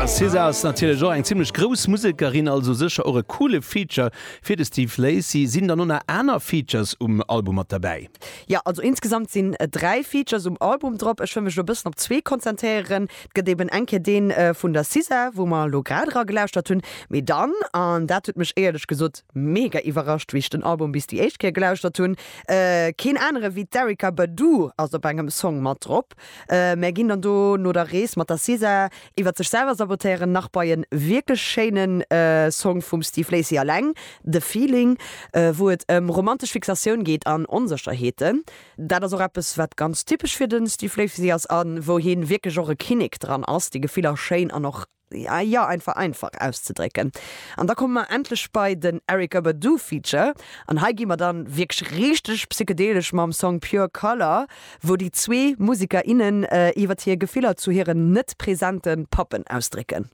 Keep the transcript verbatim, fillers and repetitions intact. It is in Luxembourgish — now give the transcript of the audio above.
SZA ass natierlech och eng zimmlech grouss Musekerin, also sécher och e coole Feature fir de Steve Lacy. Sinn dann nach aner Features um Album mat derbäi? Ja, also insgesamt sinn äh, dräi Features um Album drop. Ech wëll mech e bëssen op zwee konzentréieren. Et gëtt eben eng Kéier deen äh, vun der SZA, wou mer lo grad gelauschtert hunn. Mee dann, an dat huet mech éierlech gesot mega iwwerrascht, wéi ech den Album bis déi éischt Kéier gelauschtert hunn. Äh, keen anere wéi d'Erykah Badu ass op engem Song mat drop. Äh, mir ginn dann do no der Rees mat der SZA iwwer sech selwer sabotéieren nach bei en wierklech schéinen äh, Song vum Steve Lacy eleng, The Feeling, äh, wou et ëm romantesch Fixatioun geet an Onsécherheeten. Dat ass och eppes wat ganz typesch fir den Steve Lacy ass an wou hien wierklech och e Kinnek dran ass, déi Gefiller schéin an och ja, ja einfach einfach auszedrécken. An da komme mer endlech bei den Erykah Badu Feature an hei gi mer dann wierklech richteg psychedelesch mam Song Pure Color, wou déi zwee Museker innen äh, iwwer hir Gefiller zu hiren net presente Pappen ausdrécken.